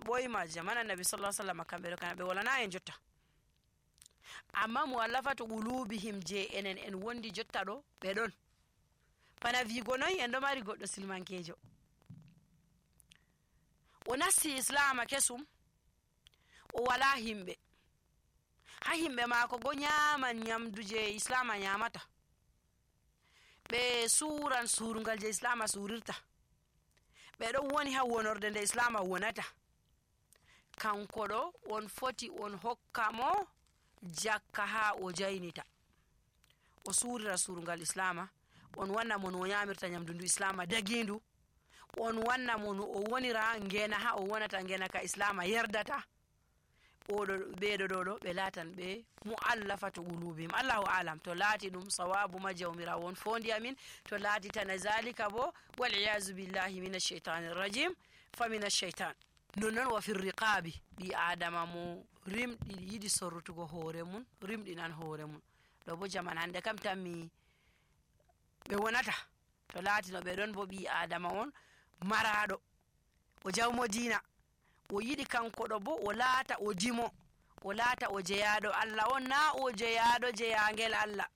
ɓoyma jamana nabi sallallahu alaihi wasallam kamɓe ɗo kana ɓe walana en jotta, amma mu'allafatu qulubihim je enen en wondi jotta ɗo ɓe ɗon. bana wigo noy en ɗo mari goɗɗo silmankejo o nasti islama kesum, o wala himɓe, ha himɓe maako go nyaman nyamdu je islama nyamata, ɓe suran surungal je islama surirta, ɓe ɗon woni ha wonorde nde islama wonata. kanko ɗo on foti on hokka mo jakka ha o jaynita, o surira surungal islama, on wanna mo no o nyamirta nyamdu ndu islama dagindu, on wanna mo no o wonira ngena ha o wonata ngena ka islama yerdata. oɗo ɓeɗo ɗo ɓe latan ɓe mu'allafatu qulubihim. Allahu alam to laati ɗum sawabu ma jawmirawo on fondi amin, to laati tana zalika bo wal iyazu billahi minash shaitanir rajim fa minash shaitan. nonnon wa fir riqabi, ɓi adama mo rimɗi yiɗi sorrutugo hoore mun rimɗinan hoore mun. ɗo bo jaman hande kam tammi ɓe wonata, to laati no ɓe ɗon bo ɓi adama on maraɗo, o jawmo dina, o yiɗi kanko ɗo bo o laata o dimo, o laata o jeyaɗo Allah on, na o jeyaɗo jeyangel Allah.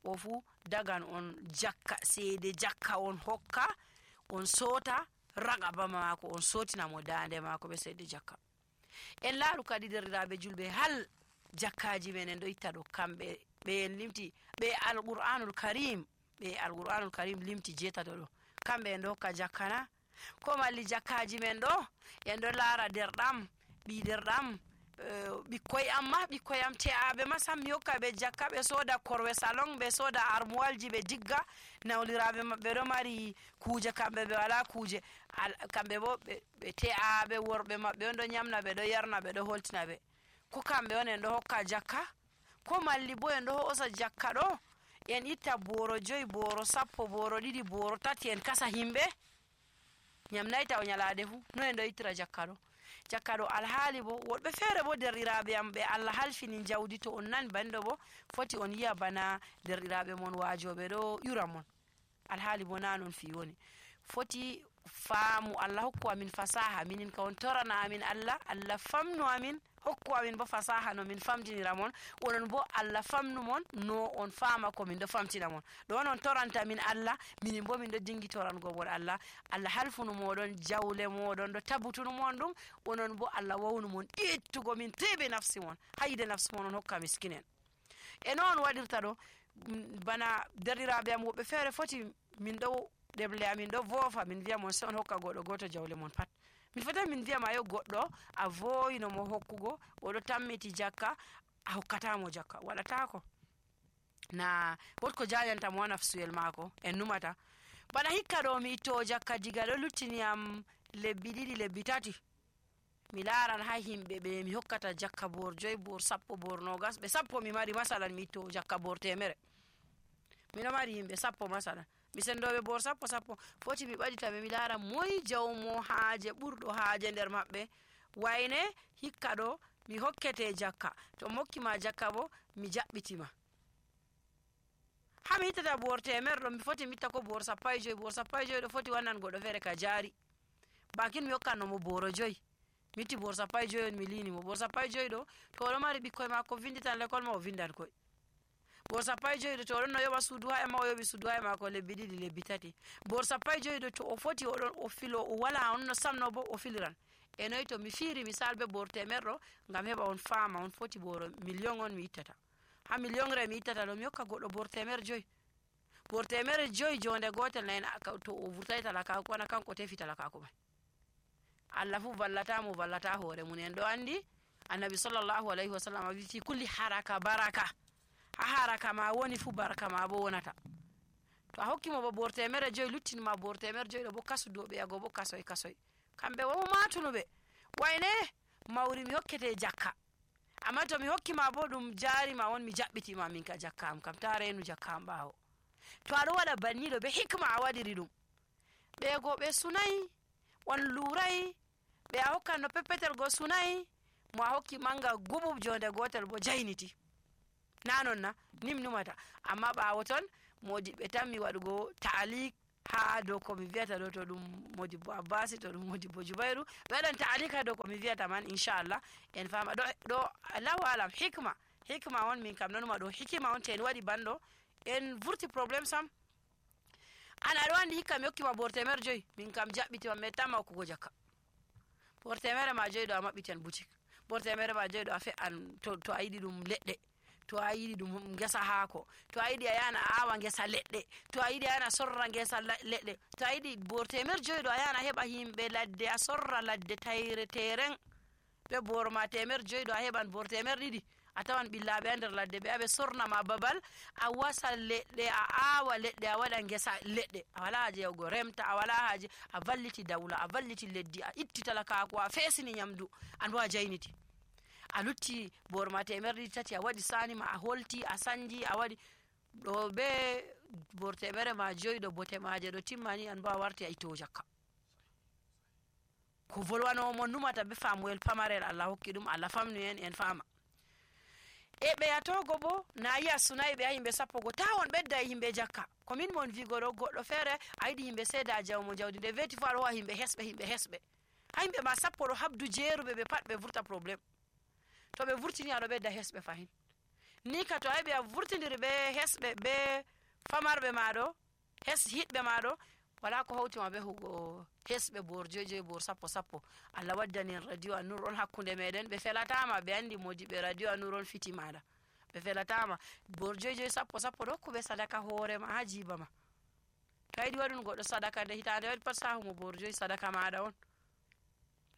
o fu dagan on jakka, seede jakka on hokka, on sota ragaba maako, on sotina mo dande maako be seede jakka. en laaru kadi derɗiraɓe julɓe, hal jakkaji men en ɗo itta ɗo kamɓe ɓe en limti ɓe alqur'anul karim, ɓe alqur'anul karim limti jetato ɗo, kamɓe en ɗo hokka jakkana, ko malli jakkaji men ɗo en ɗo laara derɗam, ɓi derɗam, ɓikkoy amma ɓikkoy am te'aɓe ma sam mi hokka ɓe jakka, ɓe soda korwe salon, ɓe soda armoalji ɓe digga, nawliraɓe maɓɓe ɗo mari kuje, kamɓe ɓe wala kuje, kamɓe bo ɓe te'aɓe worɓe maɓɓe on ɗo nyamna ɓe ɗo yarna ɓe ɗo holtina ɓe, ko kamɓe on en ɗo hokka jakka. ko malli bo en ɗo hosa jakka ɗo en itta boro 5, boro 10, boro 2, boro 3 en kasa himɓe nyamnayta o nyalade fu, no en ɗo ittira jakka ɗo. jakka ɗo alhaali bo woɗɓe feere bo derɗiraɓe am ɓe Allah halfini jawdi, to on nani banndo bo foti on yiya bana derɗiraɓe mon waajoɓe ɗo ƴura mon, alhaali bo na non fi woni. foti faamu Allah hokku amin fasaha, minin ka on torana amin Allah famnu amin, hokku amin bo fasaha no min famtinira mon, onon bo Allah famnu mon no on faama ko min ɗo famtina mon. ɗo on toranta min Allah, minin bo min ɗo dingi torango mon Allah halfunu moɗon jawle moɗon ɗo tabutunu mon ɗum, onon bo Allah wawnu mon ittugo min tibi nafsi mon, hayde nafsi mon on hokka miskinen. e noon waɗirta ɗo bana derɗiraɓe am woɓɓe feere foti min ɗo ɗeble amin ɗo voofa, min wiya mon se on hokka goɗɗo goto jawle mon pat, min fota min wiya ma yo goɗɗo a voyino mo hokkugo, oɗo tammiti jakka, a hokkatamo jakka, waɗatako, na wotko jajanta mo nafsuyel maako en numata. bana hikka ɗo mi itto jakka diga ɗo luttiniyam lebbi 2 lebbi 3, mi laaran ha himɓe ɓe mi hokkata jakka bor 5, bor 10, bor 20, ɓe 10 mi mari masalan mi itto jakka bor 100, miɗo mari himɓe 10 masalan, mi sendoɓe bor 10 foti mi ɓaɗitaɓe mi laara moy jawmo haaje ɓurɗo haaje nder maɓɓe, wayne hikka ɗo mi hokkete jakka, to mi hokkima jakka bo mi jaɓɓitima. ha mi ittata bor 100 ɗo mi foti mi itta ko bor 15, bor 15 ɗo foti wannan goɗɗo feere ka jaari, bakin mi hokkannomo boro 5, mi itti bor 15 on mi linimo, bor 15 ɗo to oɗo mari ɓikkoy makko vinditan l'école ma o vindan koy, bor 15 to oɗon no yoɓa suudu haya ma o yoɓi suudu haya mako lebbi 2 lebbi 3, bor 15 to o foti oɗon o filo o wala on no samno bo o filiran. e noy to mi fiiri misal be bor 100 ɗo ngam heɓa on faama on foti boro million on mi ittata, ha million re mi ittata ɗo mi hokka goɗɗo bor 100 bor 100 jonde gotel nayi to o vurtai talaka kona kanko tefi talakako mai. Allah fu vallata hoore mun. en ɗo andi annabi sallallahu alaihi wasallam wi fi kulli haraka baraka, ha haraka ma woni fu baraka ma bo wonata. to a hokkimo bo bor 100 luttinima bor 100 ɗo bo kasudoɓe yago bo kasoy kamɓe wo matunuɓe, wayne mawri mi hokkete jakka, amma to mi hokkima bo ɗum jarima on mi jaɓɓitima min ka jakka am kam, ta renu jakka am ɓawo. to aɗo waɗa banniɗo be hikma a waɗiri ɗum, ɓe go ɓe sunayi, on lurai, ɓe a hokkan no peppetel go sunayi, mo a hokki manga gubub jonde gotel bo jayniti, na non na nim numata. amma ɓawo ton modi ɓe tammi waɗugo ta'alik ha dow ko mi wiyata ɗo, to ɗum Modibbo Abbasi, to ɗum Modibbo Jubairu, ɓe waɗan ta'alika dow ko mi wiyata man, inchallah en fama ɗo Allahu alam. hikma on, min kam nanuma ɗo hikima on. To en waɗi banɗo en vurti probléme sam. an aɗa andi hikka mi hokkima bor temer 5, min kam jaɓɓitima mi mettama hokkugo jakka. bor temere ma 5 ɗo a maɓɓitan boutique, bor temere ma 5 ɗo a fe'an to a yiɗi ɗum leɗɗe, to a yiɗi ɗum ngesa haako, to a yiɗi a yana a awa ngesa leɗɗe, to a yiɗi a yana sorra ngesa leɗɗe, to a yiɗi bor temer 5 ɗo a yana heɓa himɓe ladde a sorra ladde tayre teren. ɓe bor ma temer 5 ɗo a heɓan bor temer 2 a tawan ɓillaɓe a nder ladde ɓe aɓe sornama babal a wasa leɗɗe, a awa leɗɗe, a waɗa ngesa leɗɗe, a wala haje yahugo remta, a wala haje, a valliti dawla, a valliti leddi, a itti talakaku, a fesini nyamdu, an bo a jayniti, a lutti bor ma temer 3 a waɗi sani ma, a holti, a sanji, a waɗi ɗo be bor temere ma 5 ɗo bote maje ɗo timmani, an bo a warti a ittowo jakka. ko volwanowo mon numata be famuwel pamarel Allah hokki ɗum, Allah famnu en fama. e ɓe yatogo bo na yi a sunayi ɓe ya himɓe 10 ta on ɓedda e himɓe jakka. ko min mon wigo ɗo, goɗɗo feere a yiɗi himɓe seeda a jawmo jawdi, nde weti fo aɗa howa himɓe hesɓe ha himɓe ma 10 ɗo habdu jeeruɓe ɓe pat ɓe vurta probléme. to ɓe vurtini aɗo ɓedda hesɓe fahin. ni ka to a heɓi a vurtidiri ɓe hesɓe ɓe famarɓe maɗo, hiɗɓe maɗo, wala ko hawtima be hugo hesɓe bor 5 bor 10. Allah waddani en radio An-Nur on hakkunde meɗen, ɓe felatama, ɓe andi modiɓe radio An-Nur on fiti maɗa, ɓe felatama. bor 5 10 ɗo ko ɓe sadaka hoorema ha jiba ma. to a yiɗi waɗun goɗɗo sadaka nde hitande waɗi pat sahumo bor 5 sadaka maɗa on.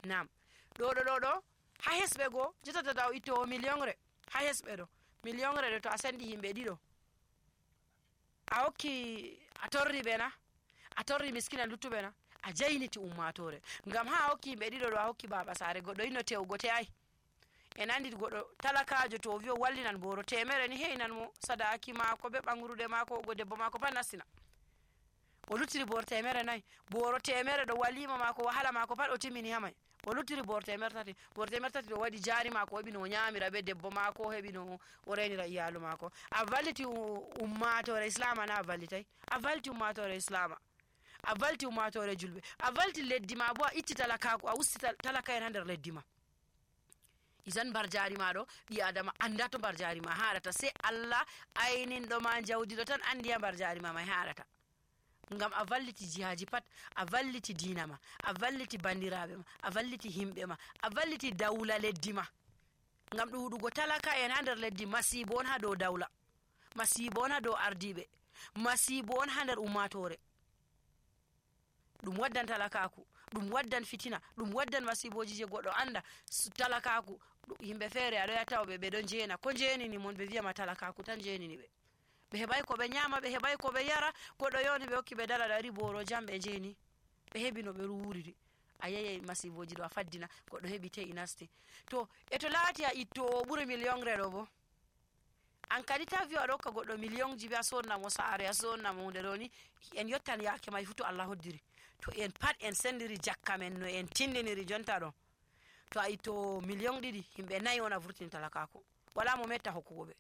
nam ɗo ha hesɓe goo jottata taw ittowo millionre ha hesɓe ɗo, millionre ɗo to a sendi himɓe 2 a hokki, a torri ɓe na, a torri miskina luttuɓe na, a jayniti ummatore. ngam ha a hokki himɓe 2 ɗo a hokki baba sare, goɗɗo yino tewgo te'ai. en andi goɗɗo talakajo to o wi o wallinan boro temere ni heinan mo sadaki mako be ɓangruɗe mako, go debbo mako pat nastina, o luttiri bor temere 4, boro temere ɗo walima mako wahala mako pat o timmini hamai, o luttiri bor temer 3, bor temer 3 ɗo waɗi jari mako, o heɓi no o nyamira be debbo mako, o heɓi no o renira iyalu mako. a valliti ummatore islama na a vallitai, a valliti ummatore islama, a valti ummatore julɓe, a valti leddi ma bo, a itti talakaku, a usti talaka en ha nder leddi ma. isan mbar jari ma ɗo ɓi adama anda to mbar jari ma haɗata, sai Allah ayninɗo ma jawdi ɗo tan andi ha mbar jari ma mai haɗata. ngam a valliti jihaji pat, a valliti dina ma, a valliti bandiraɓe ma, a valliti himɓe ma, a valliti dawla leddi ma. ngam ɗum huɗugo talaka en ha nder leddi masibo on ha dow dawla, masibo on ha dow ardiɓe, masibo on ha nder ummatore. ɗum waddan talakaku, ɗum waddan fitina, ɗum waddan masiboji je goɗɗo anda. talakaku himɓe feere aɗo yatawoɓe ɓe ɗon jeena, ko jeenini mon ɓe wiyama talakaku tan jeenini ɓe, ɓe heɓai ko ɓe nyama, ɓe heɓai ko ɓe yara, goɗɗo yoni ɓe hokki ɓe dala ɗari boro jam ɓe jeeni, ɓe heɓi no ɓe wuriri. a yeyai masiboji ɗo a faddina, goɗɗo heɓi te'i nasti. to to laati a ittowo ɓuri millionre ɗo bo, an kadi ta wiya aɗo hokka goɗɗo million ji be a sodnamo saare, a sodnamo hunde ɗo ni, en yottan yake mai fu to Allah hoddiri, to en pat en sendiri jakka men no en tindiniri jonta ɗo, to a ittowo million 2 himɓe 4 on a vurtini talakaku, wala mo metta hokkugo ɓe.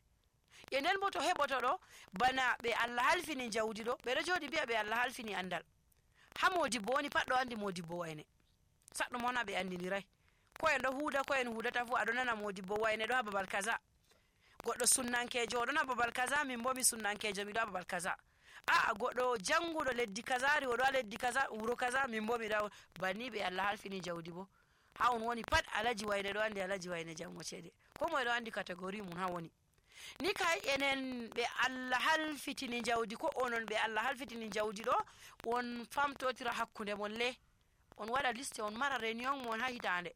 e nden bo to heɓoto ɗo bana ɓe Allah halfini jawdi ɗo, ɓeɗo joɗi mbiya ɓe Allah halfini andal. ha Modibbo woni pat ɗo andi Modibbo Wayne, saɗɗum on ha ɓe andinirai, ko en ɗo huuda ko en hudata fu aɗo nana Modibbo Wayne ɗo ha babal kaza, goɗɗo sunnankejo oɗon ha babal kaza, min bo mi sunnankejo miɗo ha babal kaza. a goɗɗo janguɗo leddi kazari oɗo ha leddi kaza, wuro kaza, min bo miɗo banni ɓe Allah halfini jawdi bo. ha on woni pat Alaji Wayne ɗo andi Alaji Wayne jango cede, ko moye ɗo andi catégorie mum ha woni. ni kay enen ɓe Allah halfitini jawdi, ko onon ɓe Allah halfitini jawdi ɗo, on famtotira hakkunde mon le, on waɗa liste, on mara réunion mon ha hitande,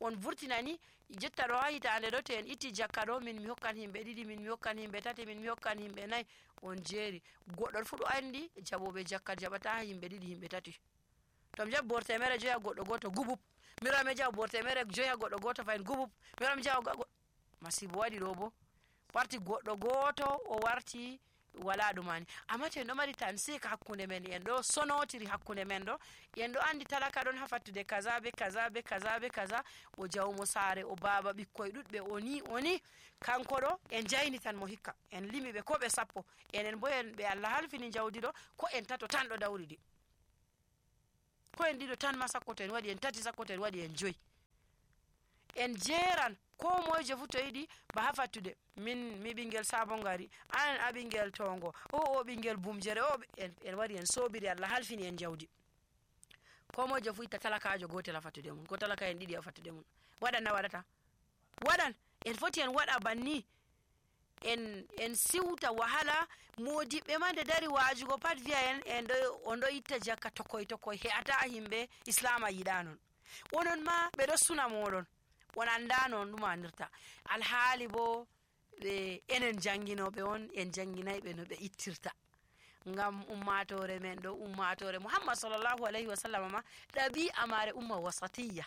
on vurtinani jotta ɗo ha hitande ɗo, to en itti jakka ɗo, min mi hokkan himɓe 2, min mi hokkan himɓe 3, min mi hokkan himɓe 4, on jeeri. goɗɗo fu ɗo andi jaɓoɓe jakka jaɓata ha himɓe 2 himɓe 3. to mi jaɓi bor temere 5 ha goɗɗo goto gubub, miro mi jaɓa bor temere 5 ha goɗɗo goto fayin gubub, miro mi jaɓa masibo waɗi ɗo bo, warti goɗɗo goto o warti wala ɗumani amma to en ɗo mari tansik hakkunde men en ɗo sonotiri hakkunde men ɗo en ɗo andi talaka ɗon ha fattude kaza be kaza be kaza be kaza o jawmo saare o baba ɓikkoye ɗuɗɓe oni kanko ɗo en jaynitan mo hikka en limi ɓe ko ɓe 10 enen bo en ɓe Allah halfini jawdi ɗo ko en 3 tan ɗo dawridi ko en 2 tan ma sakko to en waɗi en 3 sakko to en waɗi en 5 en jeran ko moyejo fu to yiɗi ba ha fattude mi ɓingel sabon gari an a ɓingel tongo o ɓingel bumjere o en wari en sobiri Allah halfini en jawdi ko moyejo fu itta talakajo gotel ha fattude mun ko talaka en 2 ha fattude mun waɗan na waɗata waɗan en foti en waɗa banni en siwta wahala modiɓɓe ma nde dari wajugo pat wiya en on ɗo itta jakka tokoy he'ata himɓe islama yiɗa non onon ma ɓe ɗo suna moɗon on anda non ɗum anirta alhaali bo enen janginoɓe on en janginayɓe no ɓe ittirta ngam ummatore men ɗo ummatore Muhammad sallallahu alaihi wasallam ma ɗabi'a mare umma wasatiyya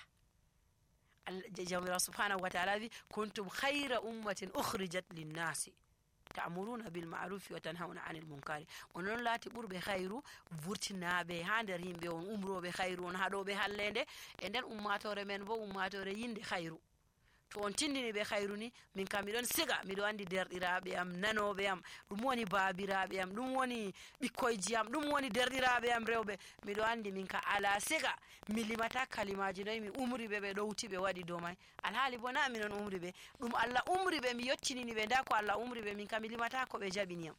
jawmirawo subhanahu wa ta'ala wi kuntum khayra ummatin ukhrijat linnasi ta'muruna bil ma'rufi wa tanhauna 'anil munkari onon laati ɓurɓe khayru vurtinaɓe ha nder yimɓe on umroɓe khayru on haɗoɓe hallende e nden ummatore men bo ummatore yinde khayru to on tindini ɓe khayru ni min kam miɗon siga miɗo andi derɗiraɓe am nanoɓe am ɗum woni babiraɓe am ɗum woni ɓikkoyji am ɗum woni derɗiraɓe am rewɓe miɗo andi min ka ala siga mi limata kalimaji noyi mi umri ɓe ɓe ɗowti ɓe waɗi dow may alhaali bo na minon umri ɓe ɗum Allah umri ɓe mi yottinini ɓe nda ko Allah umri ɓe min ka mi limata ko ɓe jaɓiniyam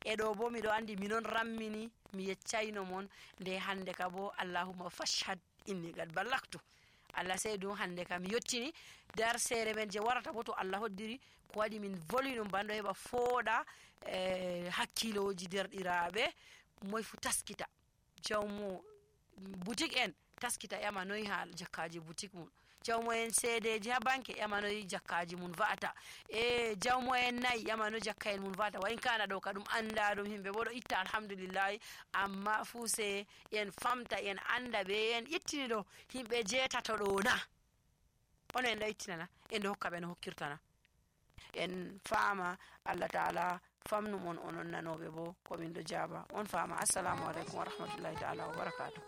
e ɗo bo miɗo andi minon rammini mi yeccayno mon nde hande ka bo allahumma fashhad inni qad ballagtu Allah sey ɗum hande kam mi yettini dar sere men je warata bo to Allah hoddiri ko waɗi min voli ɗum banɗo heɓa fooɗa hakkiloji derɗiraɓe moy fu taskita jawmo boutique en taskita ƴama noyi ha jakkaji boutique mum jawmo en seedeji ha banque ƴama noyi jakkaji mum va'ata e jawmo en nayi ƴama no jakka en mum va'ata wa in kana ɗo ka ɗum anda ɗum himɓe bo ɗo itta alhamdulillahi amma fu se en famta en anda ɓe en ittini ɗo himɓe 8 ɗo na ono en ɗo ittinana en ɗo hokka ɓe no hokkirtana en faama Allah ta'ala famnum on onon nanoɓe bo komin ɗo jaaba on faama assalamu aleykum wa rahmatullahi ta'ala wa barakatuh